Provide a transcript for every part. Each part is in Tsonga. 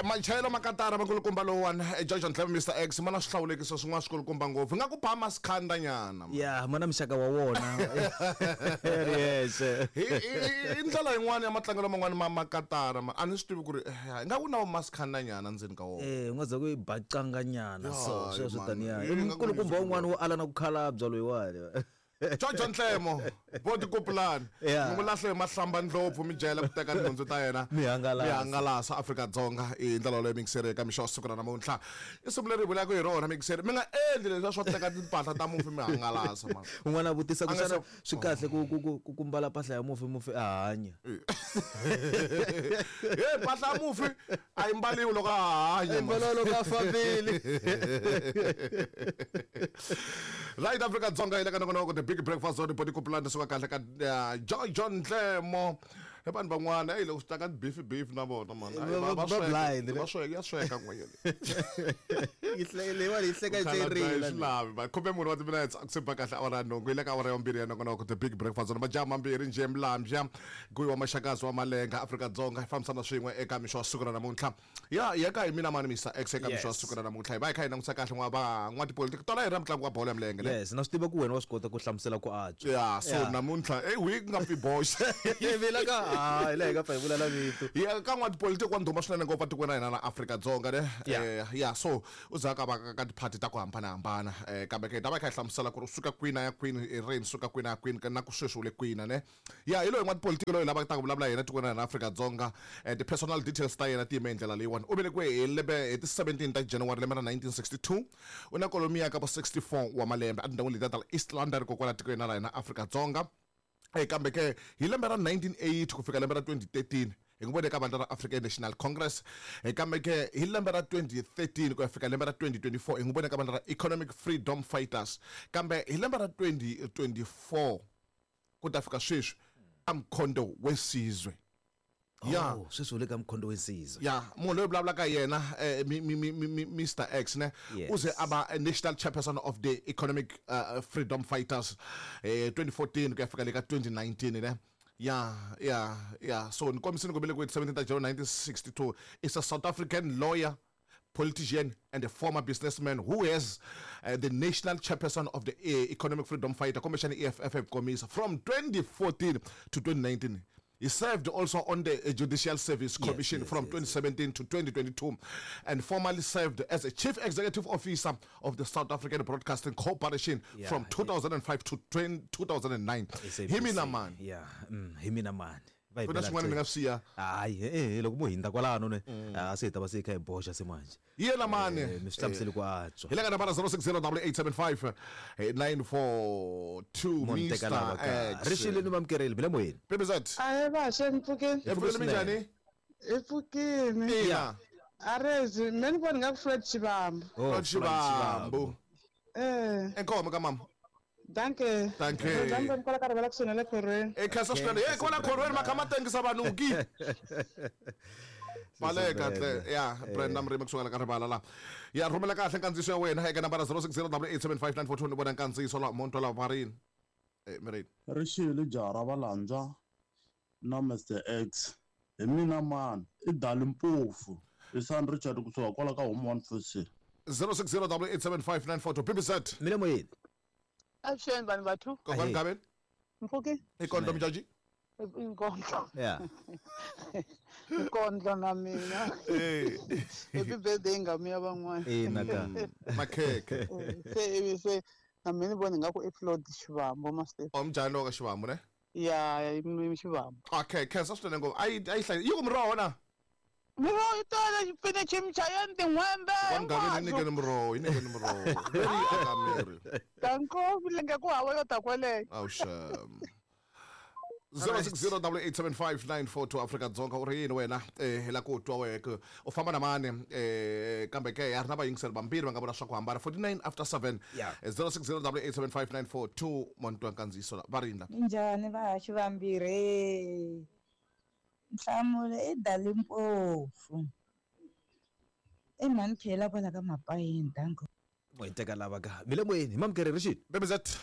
Machayelo makatara makulukumba lowuwani, George Ntlebe Mr X ma na swihlawulekiso swin'wana swikulukumba ngopfu nga ku ba masikhanda nyana. Ya ma na muxaka wa wona yexe. Hi ndlela yin'wana ya matlangelo man'wana ma makatara ma a ni swi tivi ku ri ingaku na masikhanda nyana ndzeni ka wona. U nga za ku yi bacanga nyana so sweswo taniya i mukulukumba wun'wana wo ala na ku khalabya loyiwani. Jojo Ntlemo vo tikupulani mi n'wi lahle hi mahlamba ndlopfu mi jela ku teka tinhundzu ta yena mi hangalasa mi hangalasa Afrika-Dzonga hi ndlela yoleyo mixeri eka mixo wa siku ra namuntlha i siku leri hi vulaka hi rona mixeri mi nga endli leswiya swo teka timpahla ta mufi mi hangalasa mani. Un'wana a vutisa ku xana swi kahle ku ku ku ku ku mbala mpahla ya mufi mufi a hanya. He mpahla ya mufi a yi mbaliwi loko a hanya. A yi mbaliwa loko a fambile. Right Afrika Dzonga yi le ka nongonoko The Big Breakfast on Body Kupulani suka kahle ka Joy John Ntlemo hi vanhu van'wana eyi loko swi ta ka beef beef na vona man Va blind va sweka ya sweka n'wanyana yi leyiwani yi hleka yi tlhe swi lavi va khume mune wa timinetse a ku se ba kahle awara ya nhungu yi le ka awara ya vumbirhi ya nongonoko The Big Breakfast on majaha mambirhi njhe mlambya guyi wa maxakazi wa malenga Afrika Dzonga hi fambisana swin'we eka mixo wa siku ra namuntlha Ya ya ka hi mina mani Mister X eka mixo wa siku ra namuntlha hi va hi kha hi langutisa kahle n'wa va n'watipolitiki tona hi ra mutlangi wa bolo ya milenge ne Yes, na swi tiva ku wena wa swi kota ku hlamusela ku antswa. Ya so Yeah. namuntlha ey we nga pfi boxa Hi vila ka ha hi laha hi nga pfa hi vulela vito. Ya ka n'watipolitiki wa ndhuma swinene ngopfu etikweni ra hina ra Afrika-Dzonga ne Yeah. Ya so u za ka va ka tiphati ta ku hambanahambana kambe ke hi ta va hi kha hi hlamusela ku ri u suka kwini a ya kwini i rini suka kwini a ya kwini na ku sweswi u le kwini ne Ya hi loyi n'watipolitiki loyi lavaka ta ku vulavula hi yena etikweni ra hina Afrika-Dzonga. Ti-personal details ta yena ti yime hi ndlela leyiwani. U velekiwe hi lembe hi ti 17 ta January lembe ra 1962. U na kwalomuya ka vo 64 wa malembe etindhawini letiya ta East London ko kwala tikweni ra hina Afrika-Dzonga. Kambe ke hi lembe ra 1980 ku fika lembe ra 2013 hi n'wi vone eka vandla ra African National Congress. Kambe ke hi lembe ra 2013 ku ya fika lembe ra 2024 hi n'wi vone eka vandla ra Economic Freedom Fighters. Kambe hi lembe ra 2024 ku ta fika sweswi a Mkhonto Wesizwe. Ya. Oh, sweswi u le ka Mkhonto Wesizwe. Ya, munhu loyi vulavulaka hi yena mi, mi, mi, mi, Mister X ne Yes. u ze a va national chairperson of the Economic Freedom Fighters 2014 ku ya fika le ka 2019 ne. Ya, ya, ya. So ni kombisini ku velekiwe 17 ta January 1962 is a South African lawyer, politician and a former businessman who has the national chairperson of the Economic Freedom Fighter Commission EFF hi ku komisa from 2014 to 2019. He served also on the Judicial Service Commission from 2017 to 2022 and formerly served as a chief executive officer of the South African Broadcasting Corporation from 2005 to 2009. SABC. Hi mina mani? Yeah, hi mina mani? Va hi Ku na bela swin'wana mi nga swi siya? Hayi, e loko mo hindza kwalano ne a se hi ta va se hi kha hi boxa se manje. Hi yena mani? Mi swi hlamuseli ku antswa. Hi le ka nambara 060887 5942 Mo ni teka Mr lava ka. X. Ri xile ni vamukerile mi le moyeni. PBZ. Ahe vaxe ni pfukeni. Hi pfukile minjhani? Hi pfukile. Ina. Arezi, me ni vona nga ku Floyd Shivambu. Oh, Floyd Shivambu. Eh. Inkomo ka mama. Danke. Danke. Danke kwala ka rivala kusuhi na le khorweni. E khensa swinene. Hey kwala khorweni ma kha ma tengisa vanhu ki. Baleka tle. Ya, Brenda Mrimi kusuka la ka rivala la. Ya rhumela kahle nkandziyiso ya wena eka nambara 0608875942 ni vona nkandziyiso la monto la marini. Eh mirini. Ri xile jaha ra Valandza na Mister X. Hi mina mani? I Dali Mpofu. I San Richard kusuka kwala ka Home One Four 0608875942 PBZ. Mi le moyeni. Avuxeni vanhu vathu. Kokwani Gaveni. Mpfuki. I kondlo mjaji. Inkondlo. Yeah. Inkondlo na mina. Eh. Happy birthday ngami ya van'wana. Ina ka. Makhekhe. Se se na mina ni vona ingaku i Floyd Shivambu master. O mjani lo ka Shivambu ne? Ya, i Shivambu. Okay, khensa swinene ngopfu. Ayi ayi hlayi. Yi ku muroho na? Miroho yi tele xipinichi michayeni tin'hwembe. Wa Mugaveni yi nyikeni muroho, yi nyikeni muroho. Veri yi aka miri. Danko vilenge ku hava yo ta kweleyo. Awu shame. 0608875942 Afrika Dzonga u ri yini wena eh hi la ku twa wehe ku u famba na mani eh kambe ke ya ri na vayingiseri vambirhi va nga vula swa ku hambana 49 after 7 Yeah. 0608875942 monto nkandziyiso la va rini la Minjhani vahaxi vambirhi? Nhlamulo i Dali Mpofu. I mhani Khela kwala ka Mapayeni danko. Mo hi teka lava ka. Mi le moyeni hi mamukeri ri xini? BBZ.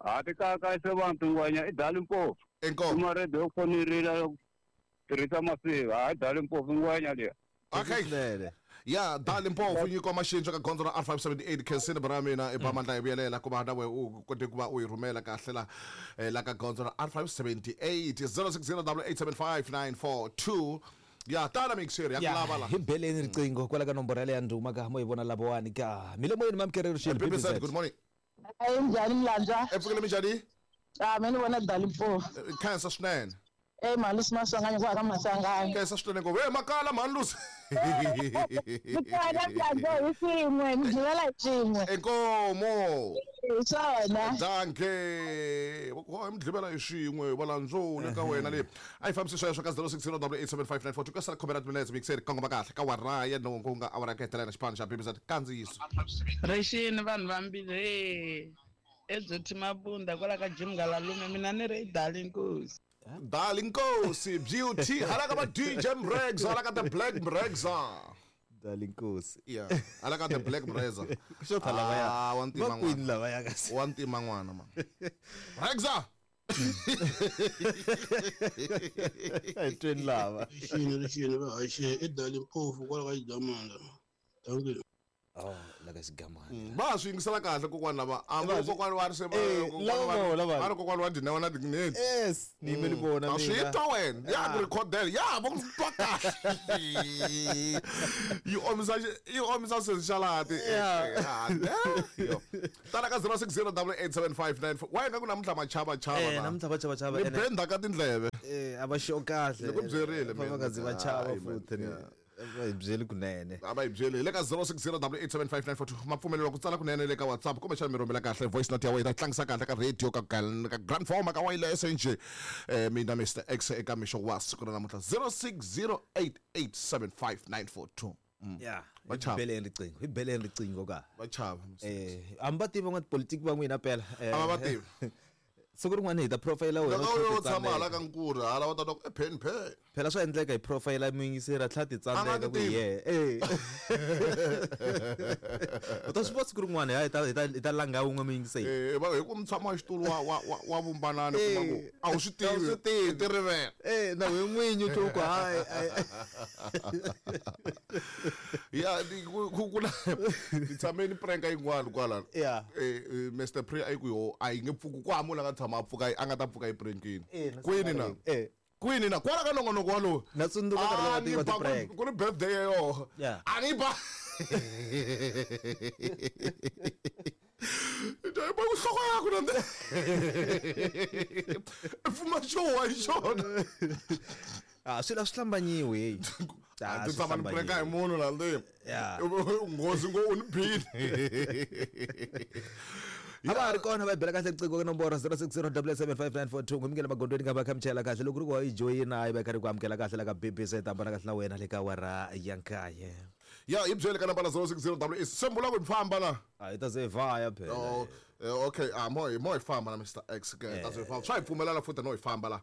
Ha ti kaka se vanhu ngwenya i Dali Mpofu. Inkomu. Kuma radio yo fonirila yo tirhisa masiva, ha Dali Mpofu ngwenya liya. Okay. Swinene. Ya dali mpofu nyiko maxintsho ka gondzo ra R578 khensini bra mina i ba mandla hi vuyelela ku va na we u kote ku va u yi rhumela kahle la la ka gondzo ra R578 0608875942. Ya tala mixer ya ku lava la. Hi beleni riqingho kwala ka nomboro yaleyo ya ndhuma ka mo hi vona lavawani ka mi le moyeni mamkerero xilo. BBC, good morning. Ayi, njhani Mlandza? Epfukile, minjhani? A me ni vona Dali Mpofu. Khensa swinene. Ey, Malusi Maswanganyi kwa ka Maswanganyi. Khensa swinene ngopfu. E makala mhani Lusi. Mikala Mlandza hi swin'we, mi givela hi swin'we. Inkomo. Hi swona. Danke. Hi mi dlivela hi swin'we valandzo le ka wena leyi a yi fambisi sweswo ka 0608875942 ka sala khomela timinetse mixeri kongoma kahle ka wara ya nhungu ku nga awara ya ku hetelela xipano xa BBC kandziyiso. Rixini vanhu vambirhi eByoti Mabunda kwala ka Jim Ngalalume, mina ni ri i Dali Nkosi. Dali Nkosi Beauty hala ka va DJ Mregs, hala ka the Black Mregza. Dali Nkosi. Yeah, hala ka the Black Mreza. Xota lavaya. Ah, wa ntima Va kwini n'wana. lavaya kasi? Wa ntima n'wana man. Mregza. Hi tweni lava. Rixini, rixini vahaxi, i Dali Mpofu kwala ka Xigamana. Thank you. Oh, la ka Xigamana. Va swi yingisela kahle kokwana lava. A va kokwana wa ri se Eh, lava vona vanhu. va ri kokwana wa Dinewa na Dignity. Yes, ni yimele vona A swi mina. twa wena ya ku rhikhodela ya va ku twa kahle yi omisa yi omisa senxalati. Yeah. Tala ka 06088759 wa nga ku namuntlha machava chava Eh, la. namuntlha va chava chava Ni ene. benda ka tindleve. Eh, a va xo kahle. Ni ku byerile Va va mina. nga zi va chava Hayi, man, futhi ni. yeah. Va hi byeli kunene. A va hi byeli hi le ka 0608875942 ma pfumeleriwa ku tsala kunene le ka WhatsApp kumbexana mi rhumela kahle voice note ya wena tlangisa kahle ka radio ka ka grand forma ka wireless nje. Mina Mr X eka mixo wa siku ra namuntlha 0608875942. Yeah. Va Hi chava. beleni riqingho, hi beleni riqingho ka. Va chava. Eh, a mi va tivi van'watipolitiki va n'wina phela. Eh, A va va tivi. Siku rin'wana hi ta profile wena. Loko u u tlhela tshama hala titsandzeka. ka nkuri hala va ta twa ku e pen pen. Phela swa endleka hi profile muyingiseri a tlhela A nga titsandzeka ti ku tivi. ye. Eh. U ta swi vona siku rin'wana hi ta langa wun'we muyingiseri. Eh, va hi ku mutshama wa xitulu wa vumbanani kuma ku a wu swi A wu tivi. swi tivi. I ti rivela. Eh, na we n'winyi u twa ku hayi. Hayi. Ya ku na ni tshame ni prank yin'wana kwala. Yeah. Eh, Mr Pre a yi ku yo a yi nge pfuki ku hava munhu a nga tshama a pfuka a nga ta pfuka yi prankini. Eh, na Kwini na? Eh. Kwini na? Kwala ka nongonoko walowo. Na tsundzuka nkarhi lowu Ah, wa ni wa ba ti-prank. ku ri birthday ya yoho. Yeah. A ni ba. Ba ku nhloko yaku na pfuma xo wa hi xona. Ah, swilo a swi hlambanyiwi hey. A ti tshama ni prank hi munhu la ndzeni. Yeah. Nghozi ngo u ni bile. A va ha ri kona va hi bela kahle riqingho ka nomboro 06077594 ngumikela magondweni ka va kha mi chayela kahle loko ri ku wa yi joyina yi va yi karhi ku amukela kahle la ka BBC ta hambana kahle na wena le ka awara ya nkaye. Ya hi byele ka nambara 060 sembula ku hi famba la. A hi ta ze hi vaya phela. Oh, okay, ah mo hi mo hi famba na Mr X ke ta swi famba. Swa hi pfumelela futhi no hi famba la.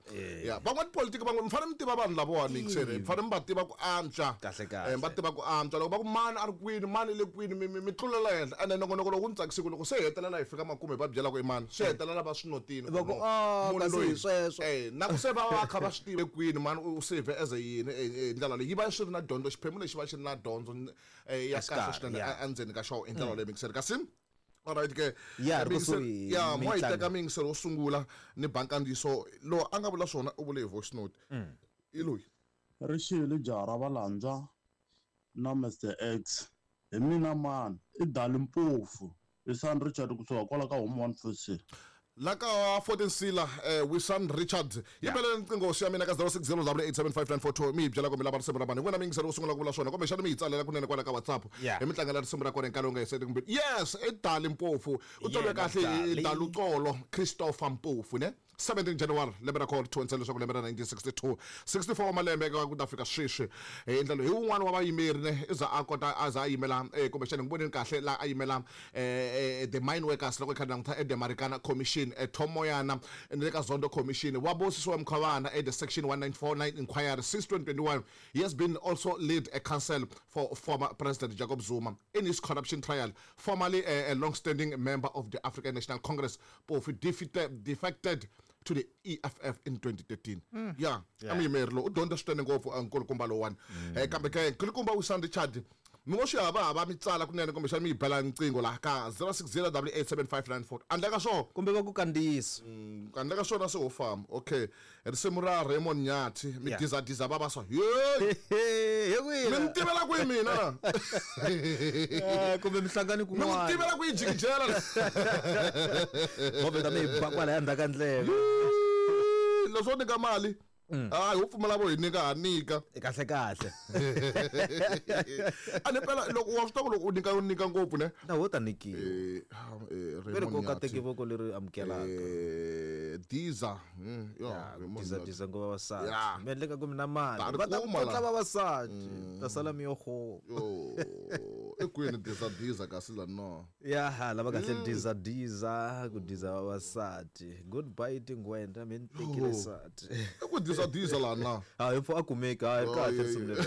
Ya, van'wani politiki van'we mi fanele mi tiva vanhu lavawani mixere, mi fanele mi va tiva ku antswa. Kahle, kahle. Eh, mi va tiva ku antswa. Loko va ku mani a ri kwini, mani le kwini, mi tlulela henhla. Ene nongonoko loko wu ni tsakisiku loko se hi hetelela hi fika makumu hi va byela ku i mani, swi hetelela va swi notini. Va ku, no, "Ah, munhu kasi hi loyi." sweswo. Eh, na ku se va va kha va swi tive kwini mani u save as a yini hi ndlela leyi yi va swi ri na dyondzo, xiphemu lexi va xi ri na dyondzo ya kahle Exikarhi, swinene yeah. endzeni ka xona hi ndlela leyi mixere kasi. Alright ke. Ya, ri Mixer- kusuhi ya mo hi mitlangu. teka miyingiselo wo sungula ni bankandziso lowu a nga vula swona u vule hi voice note. I loyi. Rixile jaha ra Valandza na Mr X. Hi mina mani, i Dali Mpofu. I San Richard kusuka kwala ka Home One Four. La ka 14 Sila Wilson Richard yi belele nqingho ya mina ka 0608875942 mi hi byela kumbe lava risimu ra vanhu hi n'wina mi yingisela wo sungula ku vula swona kumbexana mi hi tsalela kunene kwala ka WhatsApp Yeah. hi mi tlangela risimu ra kona hi nkarhi wu nga hiseti kumbe yes i Dali Mpofu u tsaliwe Yena kahle hi Dali. Daluxolo Christopher Mpofu ne 17 January lembe ra kona 27 leswaku lembe ra 1962 64 wa malembe ka ku ta fika sweswi hi ndlela hi wun'wana wa vayimeri ne i za a kota a za a yimela kumbexana ni voneni kahle la a yimela the mine workers loko hi kha hi languta e the Marikana Commission Tom Moyana ni le ka Zondo Commission wa Bosisiwa Mkhwebane at the section 1949 inquiry since 2021. He has been also lead a counsel for former President Jacob Zuma in his corruption trial. Formerly a long-standing member of the African National Congress, Mpofu defected to the EFF in 2013. Yeah, a muyimeri lowu u dyondza swinene ngopfu a nkulukumba lowuwani. Kambe ke nkulukumba Wilson Richard mi ngo swi hava hava mi tsala kunene kumbexana mi yi bela riqingho laha ka 060 87594 handle ka swona kumbe va ku kandziyisa. Handle ka swona se ho famba. Okay, risimu ra Raymond Nyathi mi dizadiza va va swa hey He mi kwina ni tivela kwihi mina na kumbe mihlangano mi n'wi kun'wana tivela ku yi jikijela movha ta mi hi ba kwalaya ndzhaku ka ndlela. Leswo nyika mali hayi ho pfumela vo hi nyika ha nyika. Kahle kahle. A ni phela loko wa swi tiva ku loko u nyika u nyika ngopfu ne. Na wo ta nyikiwa. Eh, Ve ri Raymond ku ka teki Nyathi. voko leri amukelaka. Diza. Ya, Raymond Diza Nyathi. diza ngo vavasati. Ya. Mi endleka ku mi na mali. Ta ri Va ta kuma kotla la. vavasati. Ta sala mi yo ho. Yo, i kwini diza diza kasi la no. Ya ha lava kahle diza diza ku diza vavasati. Goodbye tingwenda mi ni tekile Yo. sati. I ku diza diza la na. Ha hi pfu a kumeki ha Oh, kahle yeah, risimu leri.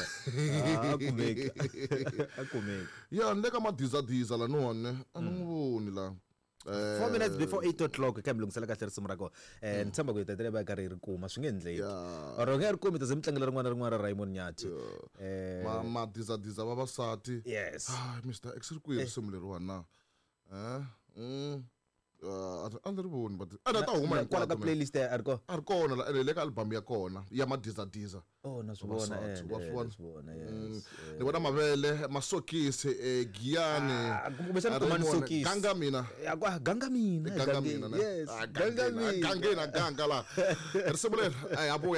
A kumeki. A kumeki. Ya ni le ka madiza diza la no ne. A ni n'wi voni la. 4 minutes before 8 o'clock ka mi lunghisela kahle risimu ra kona. Ni tshemba ku hi tatele va karhi hi ri kuma swi nge endleki. Ya. Or nge ri kumi ta ze mi tlangela rin'wana na rin'wana ra Raymond Nyathi. Ma madiza diza vavasati. Yes. Ah, Mr. X ri kwihi risimu leriwani na? Eh? A ni ri voni but a ta huma Kwala ka hinkwato mina. playlist a ri kona. A ri kona la ene le ka album ya kona ya madiza diza. Oh na swi vona Vavasati, wa swi vona? na swi vona yes. Ni vona mavele masokisi giyani. Ah, kumbexana kumani Raymond, sokisi. ganga mina. Ya kwa ganga mina. Ganga mina ne? Yes. Ah, Ganga mina. gangeni, ganga la risimu leri a ya vuya.